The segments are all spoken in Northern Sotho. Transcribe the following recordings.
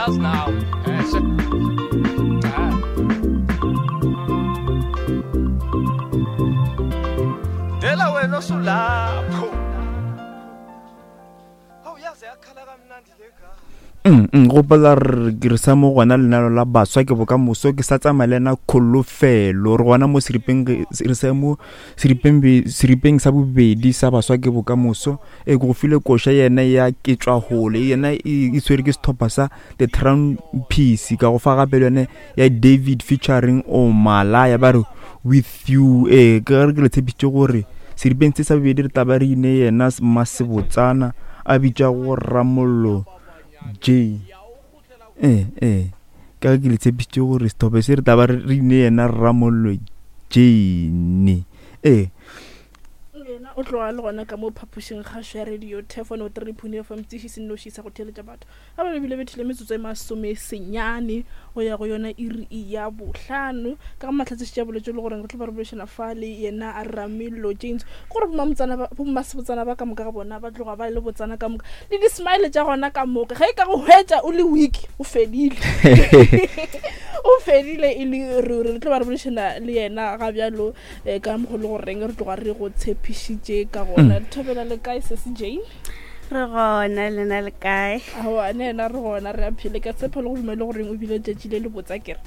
Uyazi nawe. Eh, se- Ah. Dela wena osulapho. Hawu yaze yakhala kamnandi le gama. Gopola re ke re sa mo gona lenalo la baswa ke bokamoso ke sa tsamaya le ena kholofelo re gona mo seripeng re sa mo seripeng seripeng sa bobedi sa baswa ke bokamoso e ke go file koša yena ya ke tšwa hole yena e e tshwere ke setlhopha sa the Trumpies ka go fa gape le yone ya David featuring Omalaya ba re with you ee ke re ke le tshepišitše gore seripeng se sa bobedi re tla ba re ine yena Mmasebotsana a bitša go Ramollo J ee ee ka ke le tshepišitše gore sethope se re tla ba re ine yena Ramollo Jane ee yena o tloga le gona ka mo phapošing kgašo ya radio tefono 3.fm tseši se nnoši sa go theeletša batho ga ba bile bethile metsotso e masome senyane go ya go yona iri ya bohlano ka ga mahlatse šetše a boletše le goreng re tlo ba re boledišana fa le yena a Ramillo James gore bommasebotsana ba ka moka ga bona ba tloga ba le botsana ka moka le di-smile tša gona ka moka ge e ka go hwetša o le weak o fedile o fedile e le ruri re tlo ba re boledišana le yena ga bjalo um ka mokgo le goreng re tloga re go tshepišitše ka gona mm. thobela le kae sese Jane re gona lena le kae aowa ne ena re gona re a phele ka tshepo le go dumele goreng o bile letšatši le le botsa kere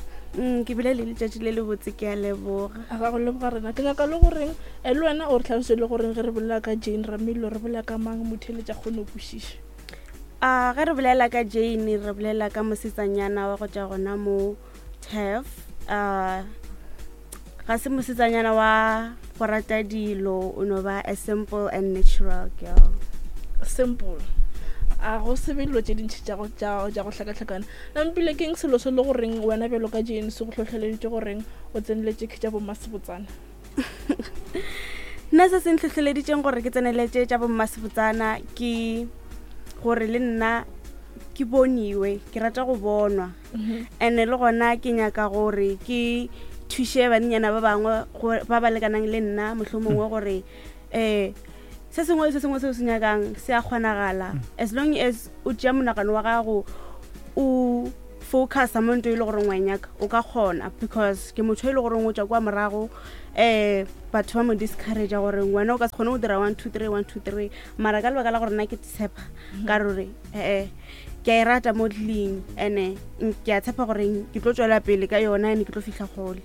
ke bile le letšatši le le botse ke a leboga a ga go leboga rena ke nyaka le goreng eh, le wena o re tlhalose le goreng ge re bolela ka Jane Ramilo re bolela ka mang motheletša kgone go kwešiša a ge re bolela ka Jane re bolela ka mosetsanyana wa go tšwa gona mo Turf a ga se mosetsanyana wa go rata dilo o no ba a simple and natural girl simple a go se be dilo tše dintšhi tša go hlakahlakana nampile keng selo se le goreng wena bjalo ka Jane se go hlohleleditše goreng o tseneletše ke tša bommasebotsana nna se se ntlhohleleditšeng gore ke tseneletše tša bommasebotsana ke gore le nna ke boniwe ke rata go bonwa and-e le gona ke nyaka gore ke thuše bannyana ba bangwe ba ba lekanang le nna mohlomongwe gore um se sengwe le se sengwe se o se nyakang se a kgonagala as long as o tšea monagano wa gago o focusa mo nto e le goreng wa e nyaka o ka kgona because ke motho e le goreng o tšwa kwa morago um batho ba mo discouragea gore wena o ka se kgone go dira 1 2 3 1 2 3 mara ka lebaka la gore nna ke tshepa ka rore ee ke a e rata modeling and-e ke a tshepa gore ke tlo tswela pele ka yona and ke tlo fihla kgole.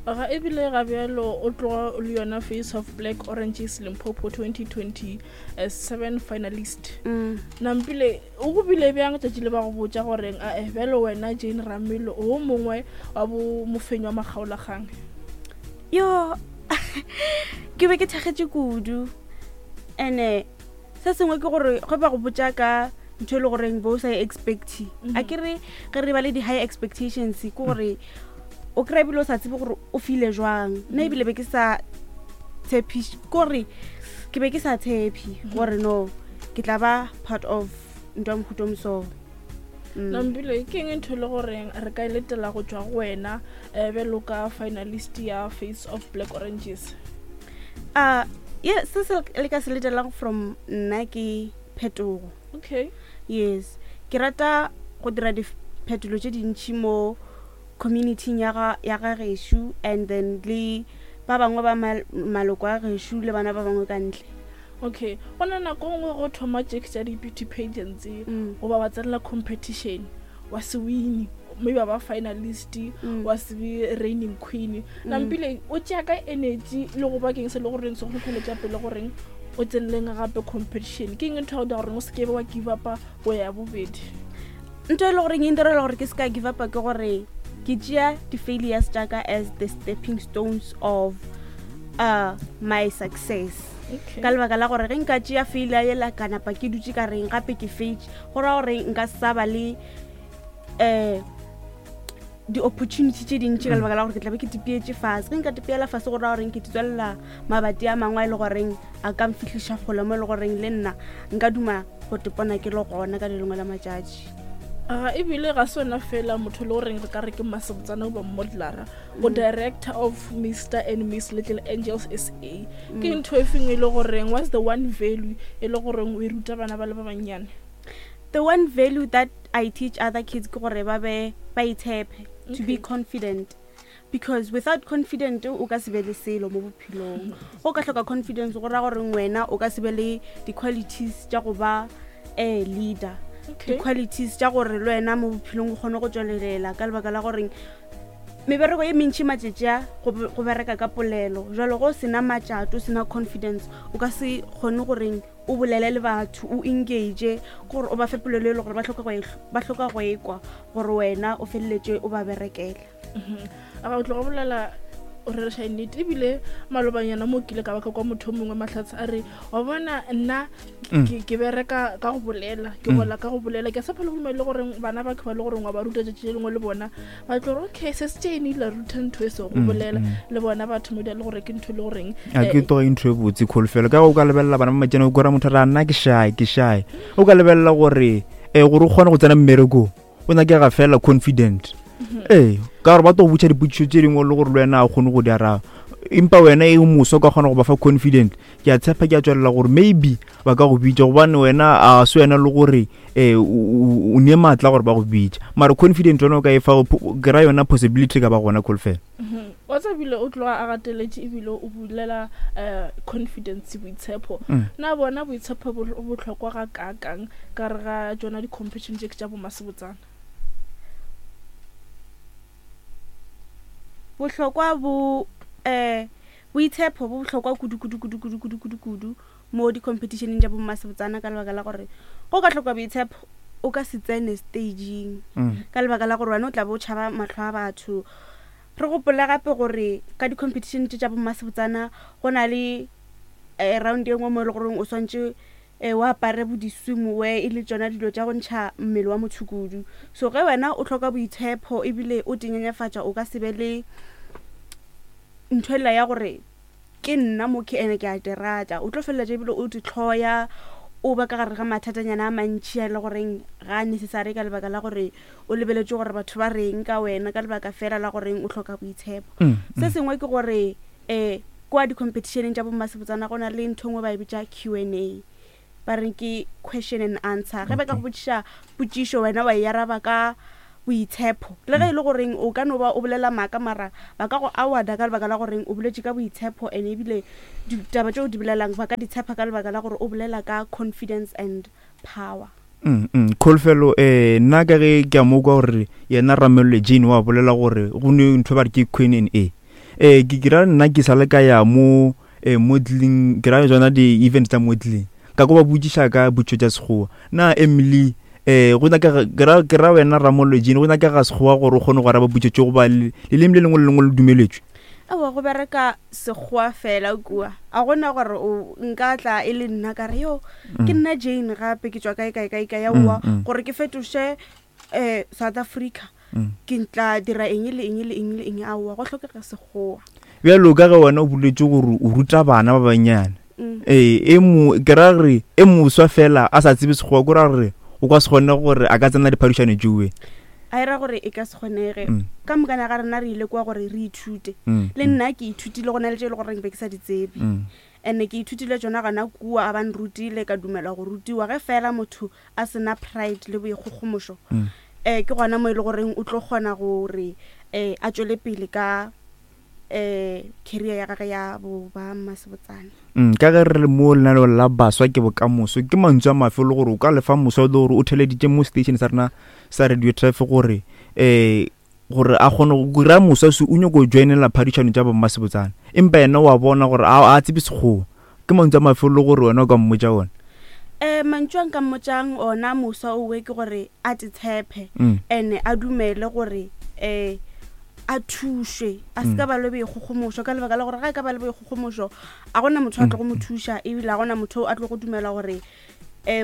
Ga ebile ga bjalo o tloga o le yona Face of Black Oranges Limpopo 2027 finalist. Nampile o go bile bjang tšatši le ba go botša goreng ae bjalo wena Jane Ramilo o mongwe wa bo mofenyi wa makgaolakgang? Yo ke be ke thakgetše kudu and-e se sengwe ke gore ge ba go botša ka ntho e le goreng bo o sa e expecte a ke re ge re ba le di-high expectations ke gore o kry-a ebile o sa tsebe gore o file jwang nna ebile be ke sa tshepiše ke gore ke be ke sa tshepe gore no ke tla ba part of ntho ya mohuta o moso. Nampile ke eng ntho e le goreng re ka e letela go tšwa go wena um bjalo ka finalist ya Face of Black Oranges? Ye se se le ka se letelang from nna ke phetogo. Okay. Yes, ke rata go dira diphetolo tše dintši mo community-ing ya ga ya ga gešo and then le ba bangwe ba maloko a gešo le bana ba bangwe ka ntle. Okay, go na nako nngwe go thoma tše tša di-beauty pageants goba wa tsenela competition wa se wine maybe wa ba finalist wa se be reigning queen. Nampile o tšea ka energy le go ba keng se le goreng se go hlohleletša pele goreng o tseneleng gape competition? Ke eng ntho ya go dira goreng o se ke be wa give upa go ya bobedi? Ntho e le goreng e ntirela gore ke se ka give upa ke gore ke tšea di-failures tša ka as the stepping stones of my success. Okay. Ka lebaka la gore ge nka tšea failure yela ka napa ke dutše ka reng gape ke faitše, go raya gore nka sa ba le di-opportunity tše dintši ka lebaka la gore ke tlabe ke tipietše fase. Ge nka tipiela fase go raya goreng ke tswelela mabati a mangwe a e le goreng a ka mfihliša kgole mo e le goreng le nna nka duma go tepona ke le gona ka le lengwe la matšatši. Ga ebile ga se wena fela motho le goreng re ka re ke mmasebotsana goba modelara o director of Mr and Miss Little Angels SA. Ke ntho e feng e le goreng what's the one value e le goreng o e ruta bana ba le ba bannyane? The one value that I teach other kids ke gore ba be ba itshepe, to be confident, because without confident o ka se be le selo mo bophelong. Go ka hloka confidence go ra gore wena o ka se be le di-qualities tša go ba a leader, di-qualities tša gore le wena mo bophelong o kgone go tswelelela, ka lebaka la goreng mebereko ye mentšhi matšatši a go bereka ka polelo. Jalo go sena matšato, o sena confidence, o ka se kgone goreng o bolele le batho, o engage gore o ba fe polelo e le gore ba hloka go ekwa gore wena o feleletše o ba berekela. A ga o tloga bolela o rereša nnete. Ebile malobanyana mo kile ka baka kwa motho o mongwe Mahlatse a re, wa bona nna ke bereka ka go bolela, ke gola ka go bolela. Ke sa phele go le gore bana ba ke ba le gore wa ba ruta tšatši le lengwe le bona ba tlo gore okay, se se tšene ile ruta ntho e se go bolela le bona batho mo le gore ke ntho e le goreng a ke toga ntho e botse kholofelo. Ka go ka lebelela bana ba matšene, o kora motho ra nna ke shy, ke shy. O ka lebelela gore gore o kgone go tsena mmerekong o nyakega fela confident. Ee, ka gore ba tlo go botša dipotšišo tše dingwe le gore le wena a kgone go di araba, empa wena e moso ka kgona go ba fa confident. Ke a tshepa, ke a tswelela gore maybe ba ka go bitša, gobane wena a se wena le gore o ne maatla gore ba go bitša, mara confident wena o ka e fa kry-a yona possibility ka ba gona kholofelo. Wa tsa ebile o tloga a gateletše, ebile o bulela confidence, boitshepo. Na bona boitshepo bo bohlokwa ga kaakang ka re ga tsona di-competition tše ke tša bomasebotsana? Bohlokwa bo boitshepo bo bohlokwa kudu kudu kudu kudu kudu kudu kudu mo di-competitioneng tša bommasebotsana, ka lebaka la gore go ka hloka boitshepo o ka se tsene stageng, ka lebaka la gore wena o tla be o tšhaba mahlo a batho. Re gopole gape gore ka di-competition tše tša bommasebotsana go na le round e nngwe mo e le goreng o swantše o apare bo di-swimwear, e le tšona dilo tša go ntšha mmele wa motho kudu. So ge wena o hloka boitshepo ebile o tenyenyefatša, o ka se be le ntho ela ya gore ke nna mo ke ene ke a terata. O tlo feleletša ebile o ditlhoya, o ba ka gare ga mathatanyana a mantšhi a e le goreng ga a necessary, ka lebaka la gore o lebeletše gore batho ba reng ka wena, ka lebaka fela la goreng o hloka boitshepo. Se sengwe ke gore kwa di-competitioneng tša bommasebotsana go na le ntho engwe ba e bitša Q and A, ba reng ke question and answer. Ge ba ka go botšiša potšišo, wena wa e araba ka boitshepo, le ge e le goreng o ka no ba o bolela maaka, mara ba ka go awarda ka lebaka la goreng o boletše ka boitshepo, and ebile ditaba tšeo di bolelang ba ka di tshepa ka lebaka la gore o bolela ka confidence and power. Kholofelo, nna ka ge ke a mo kwa gore yena Ramello Jane wa bolela gore go ne ntho ba re ke Queen and A. Ke kira nna ke sa le ka ya mo modeling, ke ra tsona di-event tsa modeling, ka ko ba botšiša ka botšo tša Sekgowa. Na Emily, go nyakega, ke ra wena Ramollo Jane, go nyakega Sekgowa gore o kgone go araba potšo tše, goba leleme le lengwe le lengwe le dumeletšwe? Aowa, go bereka Sekgowa fela kua. A gona gore o nka tla e le nna ka re yo ke nna Jane gape ke tšwa kae kae kae kae, aowa, gore ke fetoše South Africa ke tla dira eng le eng le eng le eng, aowa, go hlokega Sekgowa. Bjalo ka ge wena o boletse gore o ruta bana ba bannyane, ee, e mo ke ra gore e moswa fela a sa tsebe Sekgowa, ko ra gore o ka se kgone gore a ka tsena diphadišano tšewe? A e ra gore e ka se kgonege. Ka mokana ga rena re ile kwa gore re ithute. Le nna ke ithutile, go na le tše e le goreng be ke sa di tsebe, and-e ke ithutile tšona gona kua, a ba nrutile, ka dumela go rutiwa. Ge fela motho a sena pride le boikgogomošo, ke gona mo e le goreng o tlo kgona gore a tšwele pele ka career ya gage ya bo ba mmasebotsana. Ka ge re le mo lenaneo la Baswa ke Bokamoso, ke mantswe a mafe le gore o ka lefa moswa le gore o theleditše mo station sa rena sa Radio Traffic gore gore a kgone go kry-a moswa se o nyako joinela phadišano tša bommasebotsana, empa yena wa bona gore a tsebe Sekgowa, ke mantswe a mafe le gore wena o ka mmotša ona? Mantšu a nka mmotšang ona moswa owe ke gore a te tshepe, and a dumele gore a thušwe, a se ka ba le boikgogomošo, ka lebaka la gore ga e ka ba le boikgogomošo a gona motho a tlo go mo thuša, ebile a gona motho a tlo go dumela gore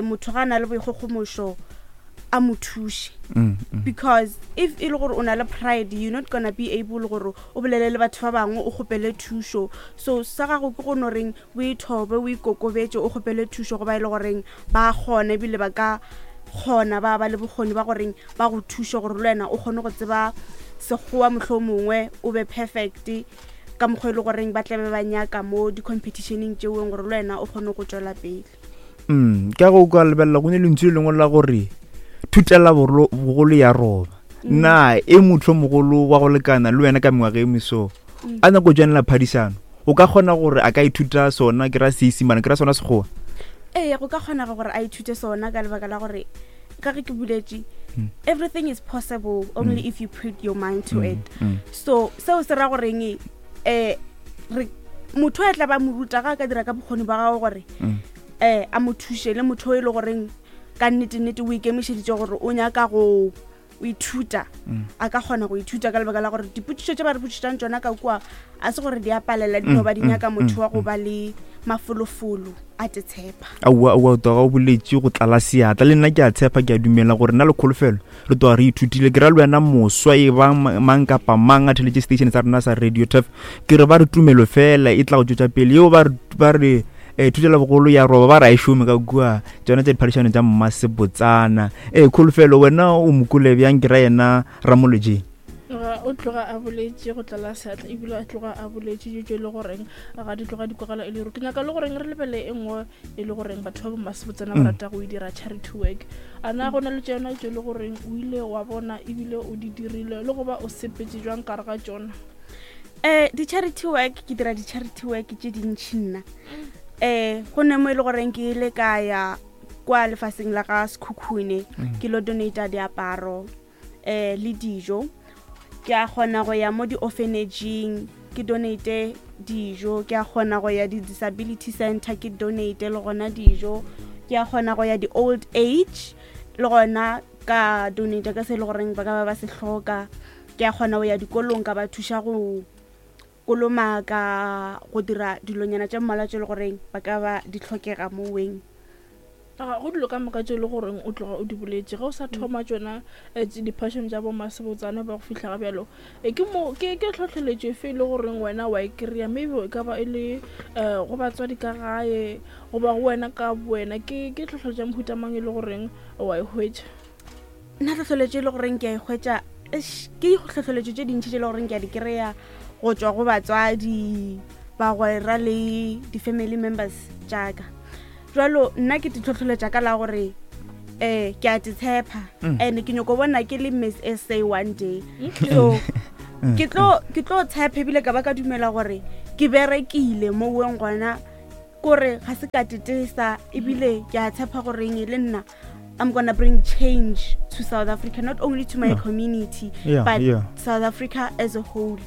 motho ga a na le boikgogomošo a mo thuše. Because if e le gore o na le pride, you're not gonna be able gore o bolele le batho ba bangwe, o kgopele thušo. So sa gago ke go no reng o ithobe, o ikokobetše, o kgopele thušo go ba e le goreng ba kgona, ebile ba ka kgona, ba ba le bokgoni ba goreng ba go thuše gore le wena o kgone go tseba Sekgowa, mohlho mongwe o be perfect ka mokgwa e le goreng ba tlabe ba nyaka mo di-competitioneng tšeoeng, gore le wena o kgone go tšwela pele. Ka go ka lebelela go ne lentšu le lengwe la gore Thutela bogolo ya roba. Na e motho mogolo wa go lekana le wena ka mengwaga e meso a nyako joinela phadišano, o ka kgona gore a ka ithuta sona, ke ra Seisimane, ke ra sona Sekgowa? Ee, go ka kgonega gore a ithute sona ka lebaka la gore ka ge ke buletše, everything is possible only if you put your mind to it. So seo se ra goreng, re motho a tla ba mo ruta ga a ka dira ka bokgoni ba gago gore a mo thuše, le motho e le goreng ka nnete-nnete o ikemišeditše gore o nyaka go o ithuta, a ka kgona go ithuta ka lebaka la gore dipotšišo tše ba re botšišang tšona ka kua a se gore di a palela, di no ba di nyaka motho wa go ba le mafolofolo a te tshepa. Aowa, aowa, o tloga o boletše go tlala seatla. Le nna ke a tshepa, ke a dumela gore nna le Kholofelo re tloga re ithutile. Ke ra le wena moswa e ba mang kapa mang a theletše station sa rena sa Radio Turf, ke re ba re tumelo fela e tla go tšwetša pele. Yeo ba re thutela bogolo ya roba, ba re a e šome ka kua tšona tša diphadišano tša mmasebotsana. Kholofelo, wena o mokole bjang? Ke ra yena Ramolojeng. O tloga a boletše go tlala seatla, ebile a tloga a boletše dilo tše e le goreng ga di tloga di kwagala e le ruri. Ke nyaka le goreng re lebele e nngwe e le goreng batho ba bommasebotsana ba rata go e dira, charity work. A na go na le tšona tše e le goreng o ile wa bona ebile o di dirile le go ba o sepetse jwang kare ga tšona? Di-charity work, ke dira di-charity work tše dintšhi nna. Go ne mo e le goreng ke ile ka ya kwa lefaseng la ga Sekhukhune, ke lo donata diaparo le dijo. Ke a kgona go ya mo di-orphanageng ke donate dijo, ke a kgona go ya di-disability center ke donate le gona dijo, ke a kgona go ya di-old age le gona ka donate ka se e le goreng ba ka ba ba se hloka. Ke a kgona go ya dikolong ka ba thuša go kolomaka, go dira dilonyana tše mmalwa tše e le goreng ba ka ba di hlokega moweng. Go dilo ka moka tše e le goreng o tloga o di boletše ge o sa thoma tšona di-passion tša bomasebotsana ba go fihla ga bjalo, ke mo ke ke tlhohleletšo efe e le goreng wena wa e kry-a? Maybe e ka ba e le go batswadi ka gae goba go wena ka wena, ke tlhohleletšo ya mohuta mang e le goreng wa e hwetša? Nna tlhohleletšo e le goreng ke a e hwetša, ke tlhohleletšo tše dintši tše e le goreng ke a di kry-a go tšwa go batswadi, bagwera le di-family members tšaka. Jalo nna ke ditlhohleletša ka la gore ke a te tshepa and ke nyako bona ke le Miss SA one day. So ke tlo tshepa ebile ka ba ka dumela gore ke berekile mo weng gona, kore ga se ka tetesa, ebile ke a tshepa goreng le nna I'm gonna bring change to South Africa, not only to my community, but South Africa as a whole.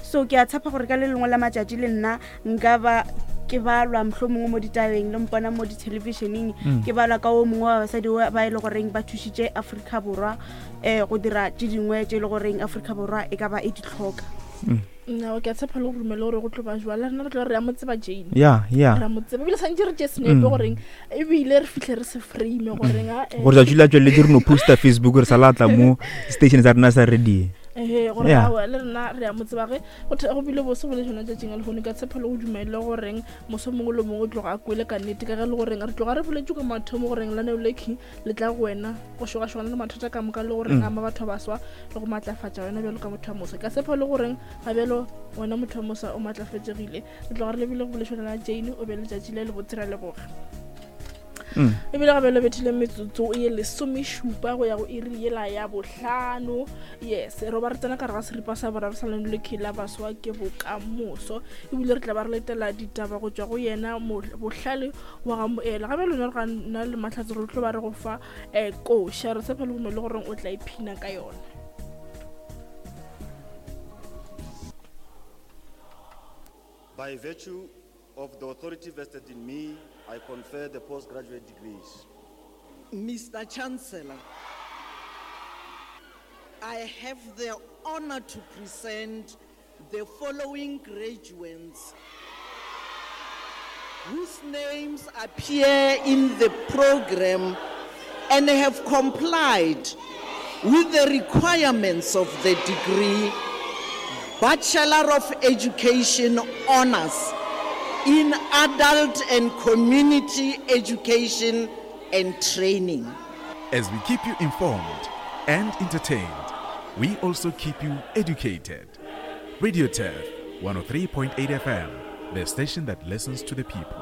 So ke a tshepa gore ka le lengwe la matšatši le nna nka ba ke balwa mohlomongwe mo ditabeng, le mpona mo dithelebišeneng, ke balwa ka o mongwe wa basadi ba e le goreng ba thušitše Afrika Borwa go dira tše dingwe tše e le goreng Afrika Borwa e ka ba e di hloka. Nna ke a tshepa le go rumele gore go tlo ba jwala, rena re tlo re ya mo tseba Jane. Ya, ya. Re mo tseba ebile santse re tše senepe goreng ebile re fihle re se frame goreng a Gore tšatši la tšweletse re no posta Facebook re sa latla mo station sa rena sa radio. Gore aowa le rena re ya mo tseba ge go bile bose go le tšona tšatšing a lehono. Ka tshepa le go dumele goreng moso mongwe le mongwe o tloga a kwele ka nnete, ka ge le goreng re tloga re boletse ka mathomo goreng laneo le king le tla go wena go šogašogana le mathata ka moka le goreng ama batho ba baswa le go matlafatša wena bjalo ka motho wa moswa. Ka tshepa le goreng ga bjalo wena motho wa moswa o matlafetšegile. Re tloga re lebile go bolešana la Jane, o be letšatši le lebotse, ra leboga. Ebile ga bjalo bethile metsotso e 17 go ya go iri yela ya 5. Yes, re ba re tsena ka re ga seripa sa boraro sa leno le la baswa ke bokamoso, ebile re tla ba re letela ditaba go tšwa go yena bohlale wa ga moela. Ga bjalo re ga nna le mahlatse re tlo ba re go fa koša, re tshepa le gome le goreng o tla iphina ka yona. By virtue of the authority vested in me, I confer the postgraduate degrees. Mr. Chancellor, I have the honor to present the following graduates whose names appear in the program and have complied with the requirements of the degree Bachelor of Education Honors in Adult and Community Education and Training. As we keep you informed and entertained, we also keep you educated. Radio Turf 103.8 FM, the station that listens to the people.